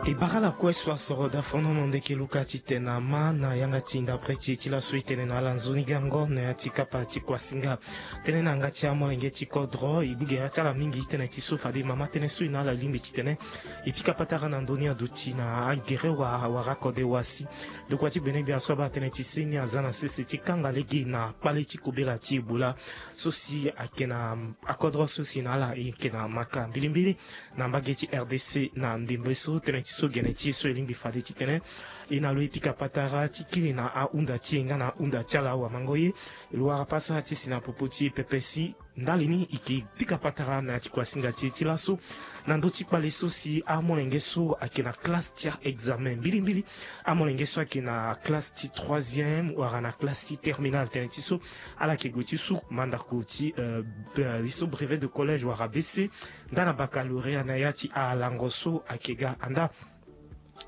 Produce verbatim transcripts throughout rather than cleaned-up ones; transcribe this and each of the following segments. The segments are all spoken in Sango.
E bara lakue so asoro dafono na ndeke luka titene ama na yanga ti ndapre ti e ti laso e tene na ala nzoni gango na ya ti kapa ti kuasinga. Tënë na yanga ti amolenge ti kodro e gbu gere ti ala mingi titene ti so fade mama tënë so e na ala lingbi titene e pika patara na ndö ni aduti na agere wa wala akode wa si. Ndokua ti gbenegbia so abaa tënë ti se ni aza na sese ti kanga lege na kpale ti kobela ti Ebola so si ayeke na akodro so si na ala e yeke na maka mbilimbili na mbage ti R D C na ndembe so tënë ti so gene ti e so e lingbi fade titene e na lo e pika patara ti kiri na ahunda ti e nga na ahunda ti ala awamango ye. E lo wara pasa ti si na popo ti e pepe si ndali ni e ke pika patara na ya ti kuasinga ti e ti laso na ndö ti kpale so si amolenge so ayeke na classe ti a-examen mbilimbili. Amolenge so ayeke na classe ti troisième wala na classe ti terminale tënë ti so ala yeke gue ti su mandako ti euh, be- li so brevet de collège wala B C nda na baccalauréat na ya ti alango so ayeke ga anda.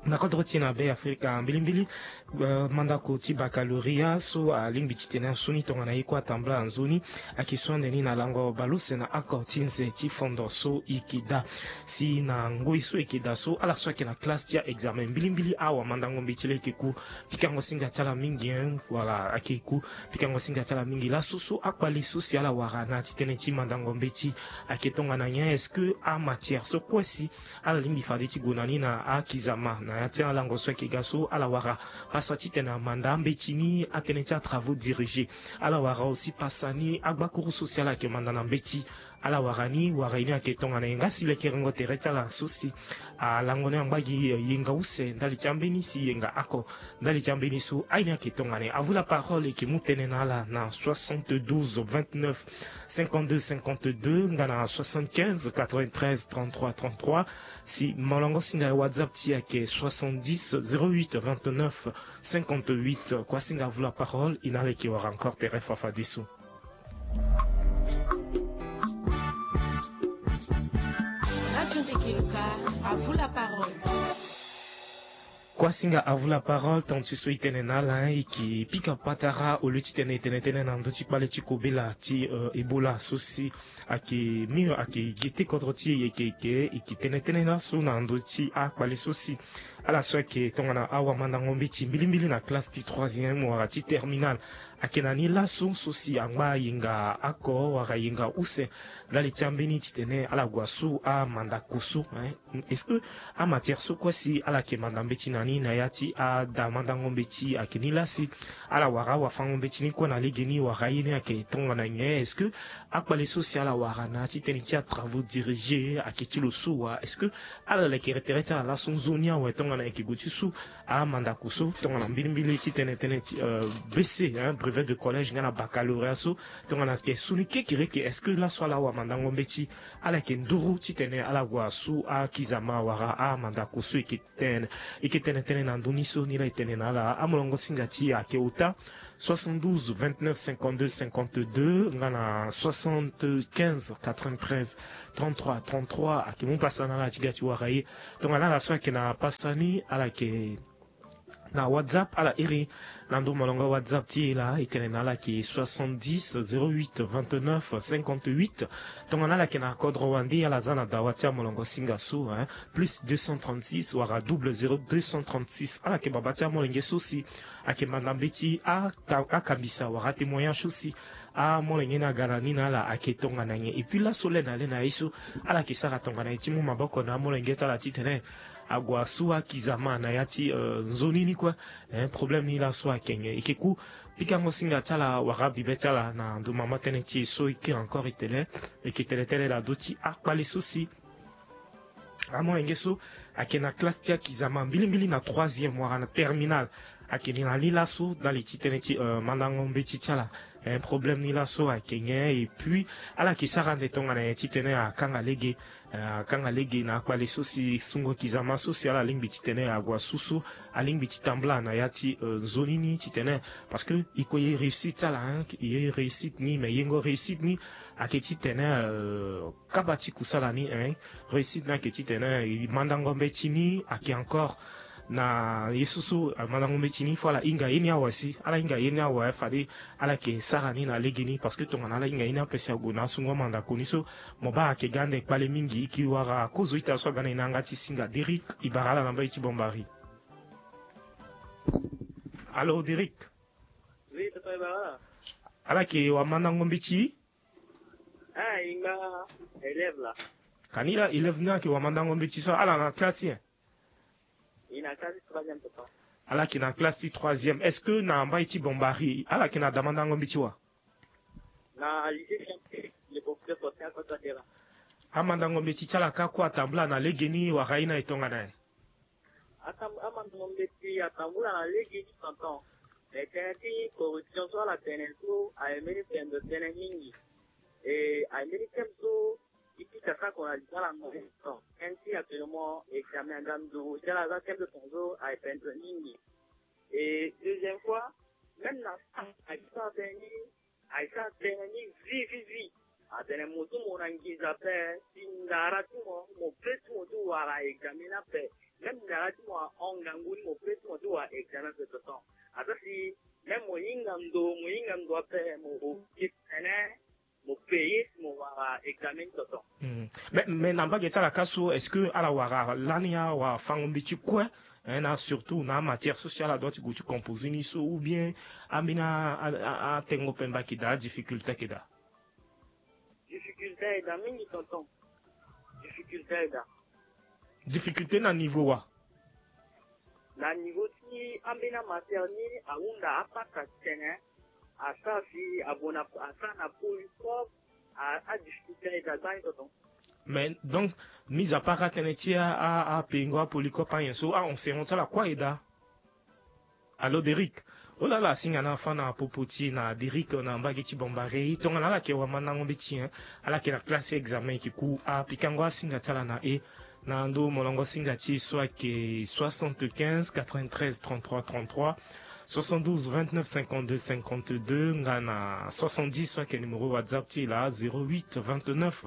Na kodro ti e na Be Afrika mbilimbili, euh, mandako ti baccalauréat so alingbi titene asoni tongana ye kue atambula nzoni ayeke so ande ni na lango bale use na oko ti nze ti fondo so e yeke daa. Si na ngoi so e yeke daa so ala so ayeke na classe ti a-examen mbilimbili awamandango mbeti laa e yeke ku pikango singa ti ala mingi hein, voilà ayeke ku pikango singa ti ala mingi laso so akpale so si ala wara na ya ti tënë ti mandango mbeti ayeke tongana nyen? Est-ce que amatière so kue si ala lingbi fade ti gue na ni na akizama na ya ti alango so ayeke ga so ala wara pasa titene amanda ambeti ni atënë ti atravaux dirigés. Ala wara aussi pasa ni agbakuru so si ala yeke manda na mbeti. Ala wara ni wara ye ni ayeke tongana ye nga si lekerengo tere ti ala so si alango ni angba gi yenga use ndali ti ambeni si yenga oko ndali ti ambeni so aye ni ayeke tongana ye. À vous la parole e yeke mu tënë na ala na soixante-douze vingt-neuf cinquante-deux cinquante-deux nga na soixante-quinze quatre-vingt-treize trente-trois trente-trois. Si molongo singa ye WhatsApp ti e ayeke soixante-dix zéro huit vingt-neuf cinquante-huit. Kua singa à vous la parole e na ala e yeke wara encore tere fafadeso. Radio Ndeke Luka, à vous la parole. Kua singa à vous la parole, tonga ti so e tene na ala e yeke pika patara au lieu titene e tene tënë na ndö ti kpale ti kobela ti euh, Ebola so si ayeke mur ayeke gete kodro ti e yeke yeke e yeke tene tënë laso na ndö ti akpale so si ala so ayeke tongana awamandango mbeti mbilimbili na classe ti troisième wala ti terminale. Ayeke na ni laso so si angba yenga oko wala yenga use ndali ti ambeni titene ala gue asu amandako so hein. Est-ce que amatière so kue si ala yeke manda mbeti na ni na ya ti ada mandango mbeti ayeke ni laa si ala wara awafango mbeti ni kue na legeni wala ye ni ayeke tongana nyen? Est-ce que akpale so si ala wara na ya ti tënë ti atravaux dirigés ayeke ti lo so wa? Est-ce que ala lekere tere ti ala laso nzoni awe tongana e yeke gue ti su amandako so tongana mbilimbili ti tene tënë ti euh, B C hein, brevet de collège nga na baccalauréat so tongana ayeke su ni kekereke? Est-ce que laso ala awamandango mbeti ala yeke nduru titene ala gue asu akizama wala amandako so e yeke tene e yeke tene tënë na ndö ni so ni laa e tene na ala. Amolongo singa ti e ayeke ota soixante-douze vingt-neuf cinquante-deux cinquante-deux nga na soixante-quinze quatre-vingt-treize trente-trois trente-trois. Ayeke mu pasa na ala ti ga ti wara ye tongana ala so ayeke na pasa ni ala yeke na WhatsApp ala iri na ndö molongo WhatsApp ti e laa e tene na ala yeke soixante-dix zéro huit vingt-neuf cinquante-huit. Tongana ala yeke na kodro wande ala za na dawa ti amolongo singa so hein, plus deux cent trente-six wala double zéro deux cent trente-six. Ala yeke baba ti amolenge so si ayeke manda mbeti ata- akambisa wala atémoignage so si amolenge ni aga na ni na ala ayeke tongana nyen? Et puis laso le na le na ye so ala yeke sara tongana nyen ti mu maboko na amolenge ti ala titene ague asu akizama na ya ti euh, nzoni ni kue hein, problème ni laso ayeke nyen? E yeke ku pikango singa ti ala wala bibe ti ala na ndo mama tënë ti e so e kiri encore e tene e yeke tene tënë na ndö ti akpale so si amolenge so ayeke na classe ti akizama mbilimbili na troisième wala na terminale. Ayeke ni na ni laso ndali ti tënë ti euh, mandango mbeti ti ala. Eh, problème ni laso ayeke nyen? Et puis ala yeke sara ande tongana nyen titene akanga lege euh, akanga lege na akpale so si sungo kizama so si ala lingbi titene ague asu so alingbi ti tambula na ya ti euh, nzoni ni titene parce que e kue ye réussite ti ala hein, ye réussite ni mais yengo réussite ni ayeke titene euh, kaba ti kusala ni hein. Réussite ni ayeke titene e mandango mbeti ni ayeke encore Na ye so so amandango mbeti ni fo ala hinga ye ni awa si ala hinga ye ni awa fade ala yeke sara ni na legeni parce que tongana ala hinga ye ni ape si ague na asungo amandako ni so. Mo baa ayeke ga ande kpale mingi e ke wara kozo ita so aga na e na yanga ti singa Derrick e bara ala na mbai ti Bambari. Allo Derrick. Ala yeke wamandango mbeti? Ah, e nga élève la. Kani la élève ni ayeke wamandango mbeti so ala na classe ye? E na classe troisième papa. Ala yeke na classe ti troisième. Est-ce que na mbai ti Bambari ala yeke na damandango mbeti wa? Na lycée Champion le professeur Faustin Akpatu Atera. Amandango mbeti ti ala ka kue atambula na legeni wala ye ni aye tongana nyen? Amandango mbeti atambula na legeni tonton. Me tënë ti corruption so ala tene so aye mbeni pendo tënë mingi. E aye mbeni thème so e pika sako na libala na ye tonton. Tënë ti actuellement examen aga nduru ti ala aza thème ti tonton so aye pendo mingi. E deuxième fois même na stage aye sara tënë ni, aye sara tënë ni vi vi vi. Atene mo so mo na nginza ape si ndara ti mo mo pe ti mo ti wara examen ni ape. Même ndara ti mo ahon ngangu ni mo pe ti mo ti wara examen ape tonton. Aza si même mo hinga ndo mo hinga ndo ape mo oke tene mo paye si mo wara examen ni tonton. Mais mais na mbage ti ala ka so est-ce que ala wara lani awafango mbeti kue? Hein, na surtout na amatière so si ala doit ti gue ti composer ni so ou bien ambeni atengo pemba ayeke daa, adifficulté ayeke daa? Difficulté ayeke daa mingi tonton. Difficulté ayeke daa. Difficulté na niveau wa? Na niveau ti ambeni amatière ni ahunda apasa tene asara si abona asara na polycope. Adifficulté ayeke daa gbani tonton. Mais donc mise à part atënë ti apengo apolycope anyen so aenseignement ti ala kue ayeke daa? Allo Derrick. Ola ala singa na afa na popo ti e na Derrick na mbage ti Bambari tongana ala yeke wamandango mbeti, ala yeke na classe ti examen e ke ku apikango asinga ti ala na e na ndo molongo singa ti e so ayeke soixante-quinze quatre-vingt-treize trente-trois trente-trois, soixante-douze vingt-neuf cinquante-deux cinquante-deux nga na soixante-dix so ayeke numéro WhatsApp ti e laa zéro huit vingt-neuf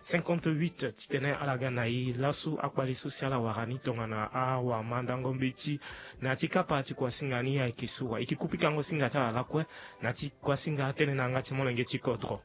cinquante-huit. Titene ala ga na e laso akpale so si ala wara ni tongana awamandango mbeti na ya ti kapa ti kuasinga ni ayeke so wa e ke ku pikango singa ti ala lakue na ya ti kuasinga atënë na yanga ti molenge ti kodro.